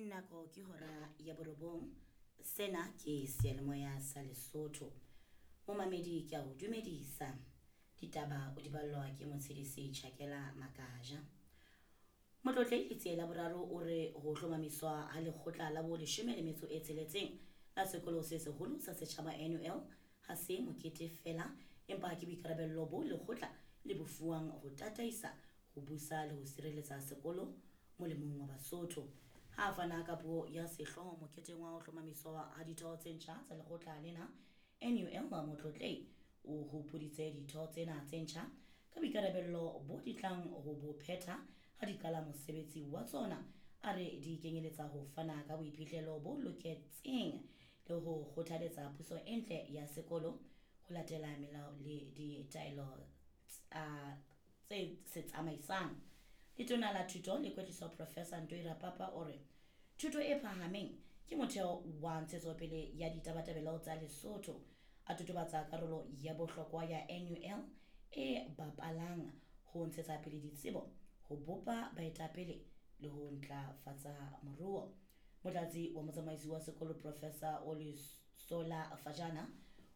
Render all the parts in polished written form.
Nako ke hora ya borobong. Sena ke seyalemoya sa Lesotho. Momamedi ke a o dumedisa. Ditaba o di ballwa ke Motshedisi Chakela Makaja. Motlotlehi Letsie la Boraro o re ho hlomamiswa ha lekgotla la bo 16 la sekolo se seholo sa setjhaba NUL ha se mokete feela empa ke boikarabello bo lekgotla le bo fuwang ho tataisa, ho busa le ho sireletsa sekolo molemong wa Basotho. Ha a fana ka puo ya sehlooho moketeng wa ho hlomamiswa ha ditho tse ntjha tsa lekgotla lena NUL, Motlotlehi o hopoditse ditho tsena tse ntjha ka boikarabello bo di tlang ho bo phetha ha di qala mosebetsi wa tsona. A re di kenyeletsa ho fana ka boiphihlelo bo loketseng le ho kgothaletsa puso e ntle ya sekolo ho latela melao le ditaelo tse se tsamaisang. Letona la Thuto le Kwetliso Professor Ntoi Rapapa o re thuto e phahameng ke motheo wa ntshetsopele ya ditabatabelo tsa Lesotho. A totobatsa karolo ya bohlokwa ya NUL e bapalang ho ntshetsa pele ditsebo, ho bopa baetapele le ho ntlafatsa moruo. Motlatsi wa motsamaisi wa sekolo Professor Olusola Fajana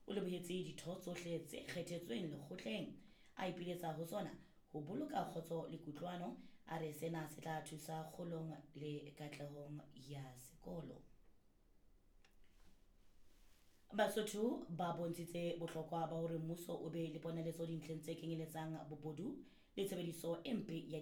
o lebohetse ditho tsohle tse kgethetsweng lekgotleng, a ipiletsa ho tsona ho boloka kgotso le kutlwano. A re sena se tla thusa kgolong le katlehong ya sekolo. Basotho ba bontshitse bohlokwa ba hore mmuso o be le ponaletso dintlheng tse kenyeletsang bobodu le tshebediso e mpe ya.